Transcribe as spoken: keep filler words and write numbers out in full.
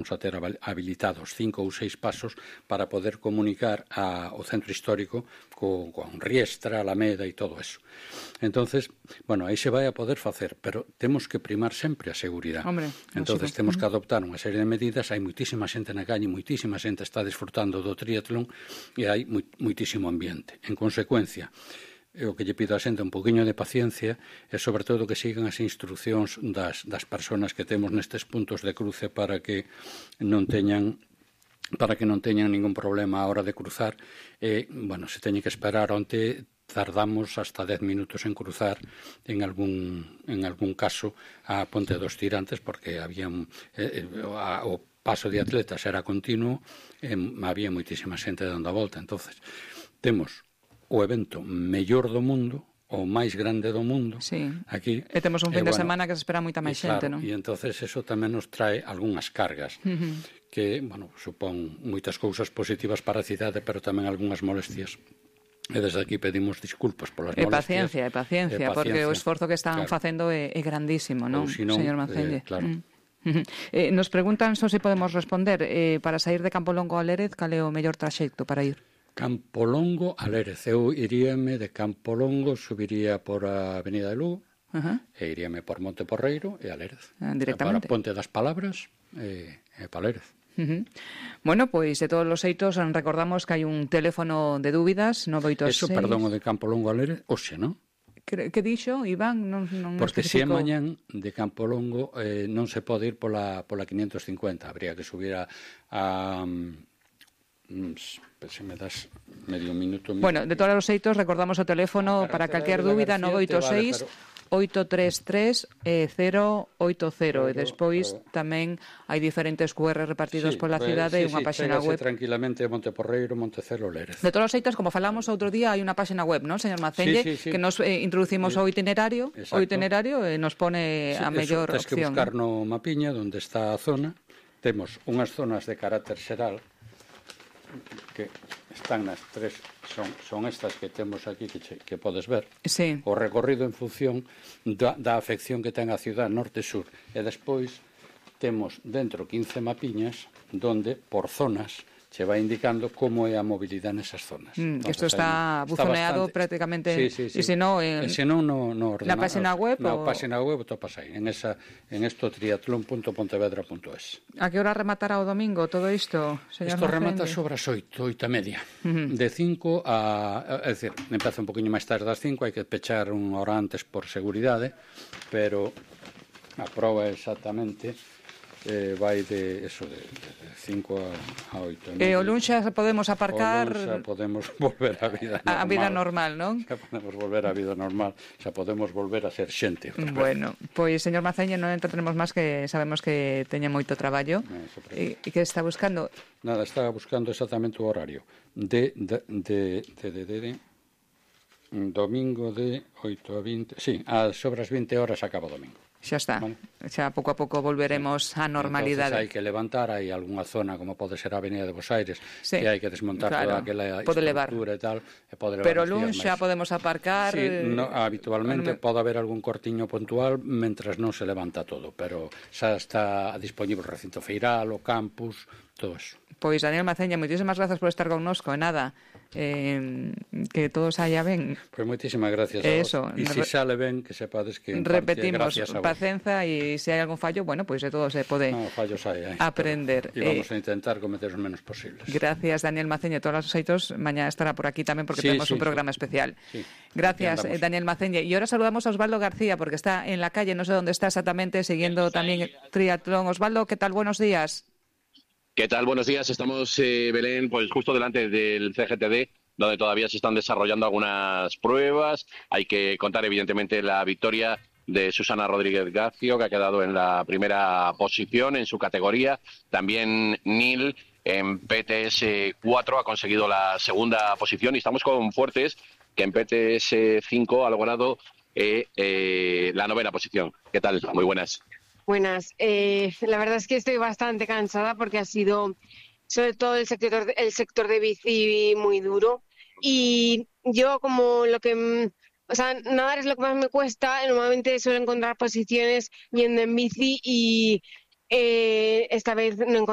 a ter habilitados cinco ou seis pasos para poder comunicar a, o centro histórico co, con Riestra, Alameda e todo eso. Entonces, bueno, aí se vai a poder facer, pero temos que primar sempre a seguridade. Hombre, entonces temos que adoptar unha serie de medidas. Hai moitísima xente na calle, moitísima xente está disfrutando do triatlón e hai moitísimo ambiente. En consecuencia, o que lle pido a xente un poquinho de paciencia e sobre todo que sigan as instruccións das, das persoas que temos nestes puntos de cruce para que non teñan para que non teñan ningún problema a hora de cruzar. E, bueno, se teñe que esperar onte tardamos hasta dez minutos en cruzar en algún en algún caso a Ponte dos Tirantes porque había eh, a, o paso de atletas era continuo e había moitísima xente dando a volta. Entonces temos o evento mellor do mundo, o máis grande do mundo, sí. aquí. E temos un fin e, de bueno, semana que se espera moita máis xente, claro, non? E entonces eso tamén nos trae algunhas cargas, uh-huh. que, bueno, supón moitas cousas positivas para a cidade, pero tamén algunhas molestias. E desde aquí pedimos disculpas polas e molestias. Paciencia, e paciencia, e paciencia, porque o esforzo que están claro. facendo é, é grandísimo, non, si non señor Mancelle? Eh, claro. Mm. Eh, nos preguntan só se podemos responder eh, para sair de Campolongo a Lérez, cal é o mellor traxecto para ir? Campolongo a Lérez. Eu iríame de Campolongo, subiría por a Avenida de Lugo, uh-huh. e iríame por Monte Porreiro e a Lérez. Ah, directamente. Para Ponte das Palabras e, e para Lérez. Uh-huh. Bueno, pois de todos os xeitos recordamos que hai un teléfono de dúbidas nove oito seis. Eso, perdón, o de Campolongo a Lérez, oxe, non? Que, que dixo, Iván? Non, non Porque se é especifico... mañán de Campolongo eh, non se pode ir pola, pola quinientos cincuenta, habría que subir a... a se me das medio minuto... Bueno, de todos os xeitos, recordamos o teléfono para calquer dúbida, nove oito seis oito tres tres cero oito cero, e despois tamén hai diferentes cu erre repartidos sí, pola pues, cidade e sí, unha sí, páxina web. Tranquilamente Monte Porreiro, Montecelo, Lérez. De todos os xeitos, como falamos outro día, hai unha páxina web, non, señor Macelle, sí, sí, sí. que nos eh, introducimos sí. o itinerario, Exacto. o itinerario e nos pone sí, a mellor eso, opción. Tens que buscar no mapiña onde está a zona. Temos unhas zonas de carácter xeral que están nas tres, son, son estas que temos aquí que, che, que podes ver. Sí. O recorrido en función da, da afección que ten a cidade norte-sur. E despois temos dentro quince mapiñas donde, por zonas, se vai indicando como é a mobilidade nesas zonas. Mm, que isto está buzoneado bastante... prácticamente, sí, sí, sí. e se non, en... se non no, no na página web, na o... página web topas aí, en esa en esto triatlón punto pontevedra punto es. A que hora rematará o domingo todo isto, señor Isto Macelle? remata sobre as oito, oito e media. Uh-huh. De cinco a, é dicir, empeza un poquinho máis tarde das cinco, hai que pechar unha hora antes por seguridade, pero a proba exactamente eh, vai de eso de, de cinco a oito. E o luns xa podemos aparcar... O luns xa podemos volver á vida normal. A vida normal, non? Xa podemos volver á vida normal, xa podemos volver a ser xente. Bueno, pois, señor Maceño, non entretenemos máis, que sabemos que teña moito traballo. E, e que está buscando? Nada, estaba buscando exactamente o horario. De, de, de, de, de, de, de domingo de oito a vinte... Sí, a sobre as vinte horas acaba o domingo. Xa está, vale. Xa pouco a pouco volveremos á normalidade. Entonces hai que levantar, hai algunha zona como pode ser a Avenida de Bos Aires, sí, que hai que desmontar claro, toda aquela pode estructura levar. E tal, e pode levar. Pero luns xa podemos aparcar. Sí, no, habitualmente me... pode haber algún cortiño puntual mentras non se levanta todo, pero xa está disponible o recinto feiral, o campus, todo eso. Pois, Daniel Maceña, moitísimas grazas por estar connosco, e nada, eh, que todo saia ben. Pois moitísimas gracias a Eso, vos. E se sale ben, que sepades que en repetimos, parte, gracias a vos. Pacenza, e se hai algún fallo, bueno, pois de todo se pode no, fallos hai, hai, aprender. E vamos eh, a intentar cometer os menos posibles. Gracias, Daniel Maceña, todos os xeitos, mañá estará por aquí tamén, porque sí, tenemos sí, un programa sí. especial. Sí. Gracias, Daniel Maceña. Y ahora saludamos a Osvaldo García, porque está en la calle, no sé dónde está exactamente, siguiendo también triatlón. Osvaldo, ¿qué tal? Buenos días. ¿Qué tal? Buenos días. Estamos, eh, Belén, pues justo delante del C G T D, donde todavía se están desarrollando algunas pruebas. Hay que contar, evidentemente, la victoria de Susana Rodríguez Gacio, que ha quedado en la primera posición en su categoría. También Nil, en P T S cuatro, ha conseguido la segunda posición. Y estamos con Fuertes, que en P T S cinco ha logrado eh, eh, la novena posición. ¿Qué tal? Muy buenas. Buenas. Eh, la verdad es que estoy bastante cansada porque ha sido, sobre todo el sector, el sector de bici, muy duro. Y yo, como lo que... O sea, nadar es lo que más me cuesta. Normalmente suelo encontrar posiciones yendo en bici y Eh, esta vez no encontré